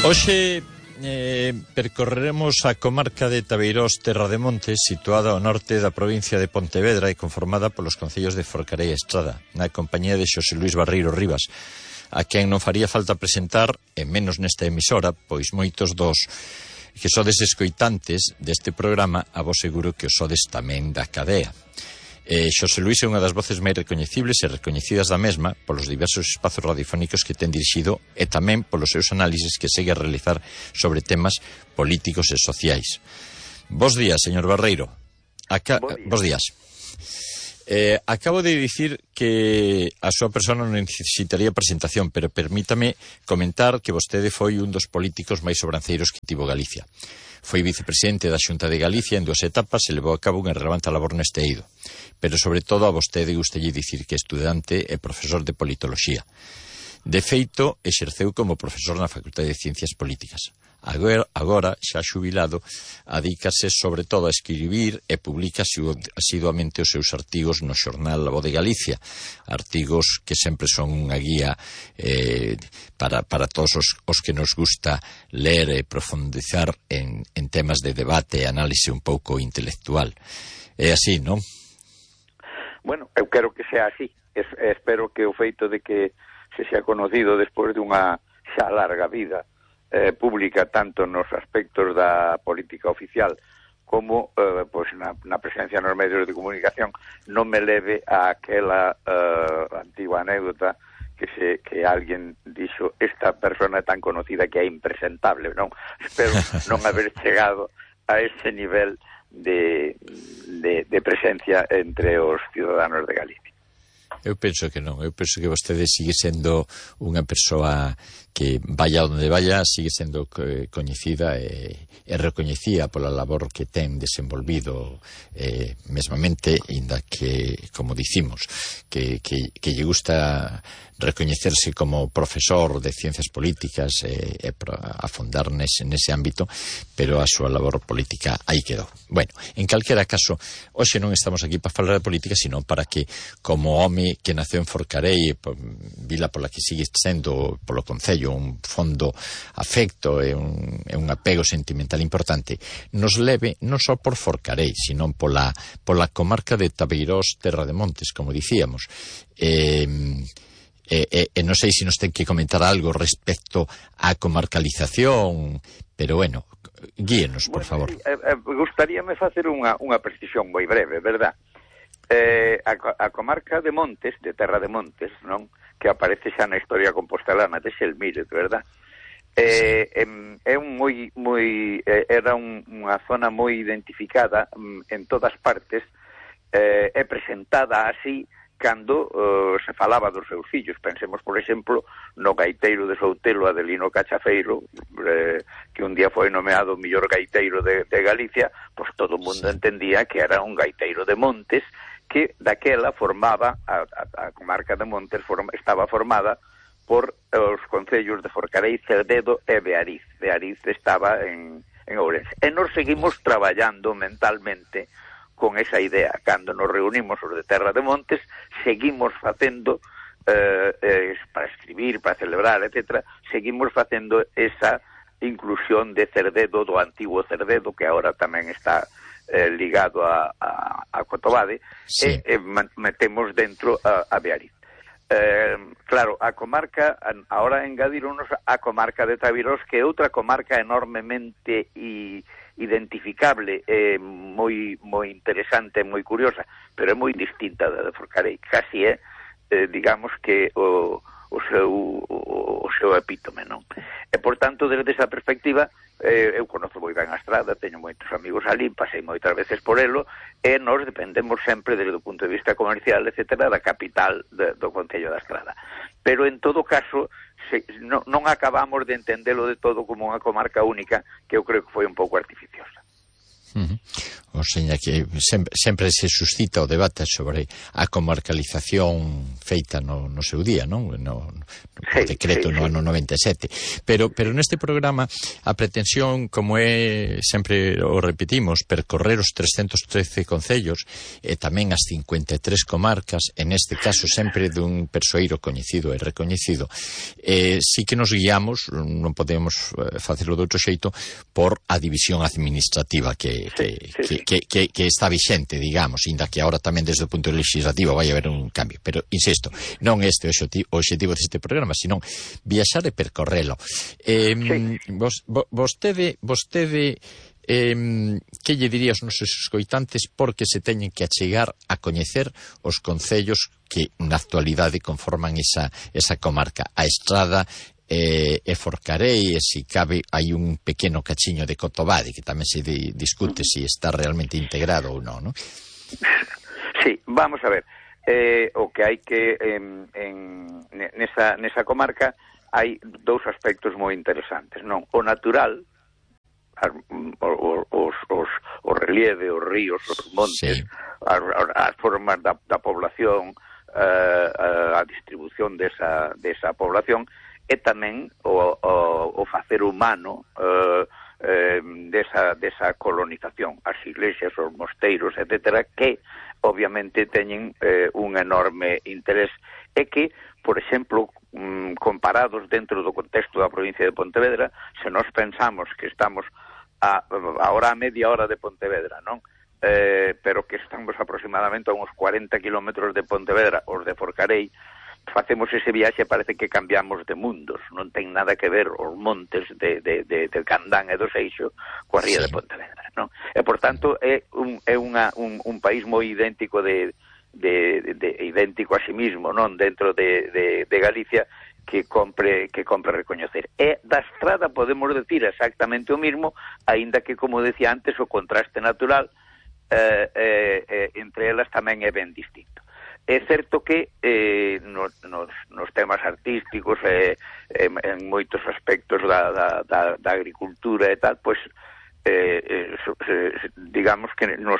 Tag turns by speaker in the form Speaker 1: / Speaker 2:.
Speaker 1: Hoxe percorreremos a comarca de Tabeirós, Terra de Montes, situada ao norte da provincia de Pontevedra e conformada polos concellos de Forcarei e Estrada, na compañía de Xosé Luís Barreiro Rivas, a quen non faría falta presentar, e menos nesta emisora, pois moitos dos que sodes escoitantes deste programa, a vos seguro que os sodes tamén da cadea. Xosé Luís é unha das voces máis recoñecibles e recoñecidas da mesma polos diversos espazos radiofónicos que ten dirixido e tamén polos seus análises que segue a realizar sobre temas políticos e sociais. Bos días, señor Barreiro. Bos días. Acabo de dicir que a súa persona non necesitaría presentación, pero permítame comentar que vostede foi un dos políticos máis sobranceiros que tivo Galicia. Foi vicepresidente da Xunta de Galicia en 2 etapas e levou a cabo unha relevante labor neste eido. Pero, sobre todo, a vostede gustalle dicir que é estudante e profesor de politoloxía. De feito, exerceu como profesor na Facultade de Ciencias Políticas. Agora, xa xubilado, adícase sobre todo a escribir e publica asiduamente os seus artigos no xornal La Voz de Galicia, artigos que sempre son unha guía para todos os que nos gusta ler e profundizar en temas de debate e análise un pouco intelectual. É así, non?
Speaker 2: Bueno, eu quero que sea así. Espero que o feito de que se xa conocido despois de unha xa larga vida pública, tanto nos aspectos da política oficial como pois na presencia nos medios de comunicación, non me leve a aquela antigua anécdota que alguén dixo: esta persona é tan conocida que é impresentable, non? Espero non haber chegado a ese nivel de presencia entre os ciudadanos de Galicia.
Speaker 1: Eu penso que non, eu penso que vostede sigue sendo unha persoa que vaya onde vaya, sigue sendo coñecida e recoñecida pola labor que ten desenvolvido mesmamente, inda que, como dicimos, que lle gusta recoñecerse como profesor de ciencias políticas e afondar nese ámbito, pero a súa labor política aí quedou. Bueno, en calquera caso, hoxe non estamos aquí para falar de política, sino para que, como home que naceu en Forcarei, vila pola que sigue sendo polo concello un fondo afecto e un apego sentimental importante, nos leve non só por Forcarei, sino pola comarca de Tabeirós, Terra de Montes, como dicíamos. Non sei se nos ten que comentar algo respecto á comarcalización, pero bueno, guíenos, por favor.
Speaker 2: Gustaríame facer unha precisión moi breve, verdad? A comarca de Montes, de Terra de Montes, non? Que aparece xa na historia compostelana de Xelmírez, verdad? Era unha zona moi identificada en todas partes, e presentada así cando se falaba dos seus fillos. Pensemos, por exemplo, no gaiteiro de Soutelo, Adelino Cachafeiro, que un día foi nomeado o mellor gaiteiro de Galicia, pois todo o mundo entendía que era un gaiteiro de Montes, que daquela formaba, a comarca de Montes estaba formada por os concellos de Forcarei, Cerdedo e Beariz. Beariz estaba en Ourense. E nos seguimos traballando mentalmente con esa idea. Cando nos reunimos os de Terra de Montes, seguimos facendo, para escribir, para celebrar, etc., seguimos facendo esa inclusión de Cerdedo, do antigo Cerdedo, que agora tamén está ligado a Cotobade, sí. E metemos dentro a Beariz. Claro, a comarca, ahora engadironos a comarca de Tabeirós, que é outra comarca enormemente identificable, moi interesante, moi curiosa, pero é moi distinta da de Forcarei. Casi é, digamos que o seu epítome, non? E, por tanto, desde esa perspectiva, eu conozo moi ben a Estrada, teño moitos amigos ali, pasei moitas veces por elo, e nós dependemos sempre, desde o punto de vista comercial, etc., da capital do Concello da Estrada. Pero, en todo caso, non acabamos de entendelo de todo como unha comarca única, que eu creo que foi un pouco artificiosa.
Speaker 1: O seña que sempre se suscita o debate sobre a comarcalización feita no seu día, non? No decreto no ano 97. Pero neste programa a pretensión, como é, sempre o repetimos, percorrer os 313 concellos e tamén as 53 comarcas, en este caso sempre dun persoeiro coñecido e recoñecido, sí que nos guiamos, non podemos facelo de outro xeito, por a división administrativa que está vixente, digamos, inda que agora tamén desde o punto legislativo vai haber un cambio. Pero, insisto, non este o objetivo deste programa, senón viaxar e percorrelo. Vostede que lle diría aos nosos escoitantes porque se teñen que achegar a coñecer os concellos que na actualidade conforman esa comarca, a Estrada e Forcarei, e se cabe hai un pequeno cachiño de Cotobade que tamén se discute se está realmente integrado ou non, non?
Speaker 2: Sí, vamos a ver, o que hai que nesa comarca hai dous aspectos moi interesantes, non? O natural, o relieve, os ríos, os montes, as formas da población, a distribución desa población, e tamén o facer humano desa colonización, as iglesias, os mosteiros, etcétera, que obviamente teñen un enorme interés e que, por exemplo, comparados dentro do contexto da provincia de Pontevedra, se nós pensamos que estamos agora a media hora de Pontevedra, non? Pero que estamos aproximadamente a uns 40 kilómetros de Pontevedra, os de Forcarei, facemos ese viaxe, parece que cambiamos de mundos, non ten nada que ver os montes de Candán e do Seixo coa ría de Pontevedra, non? E, por tanto, é un país moi idéntico idéntico a sí mismo, non? Dentro de Galicia, que compre recoñecer. E da Estrada podemos decir exactamente o mismo, aínda que, como decía antes, o contraste natural entre elas tamén é ben distinto. É certo que nos temas artísticos en moitos aspectos da agricultura e tal, pois digamos que nos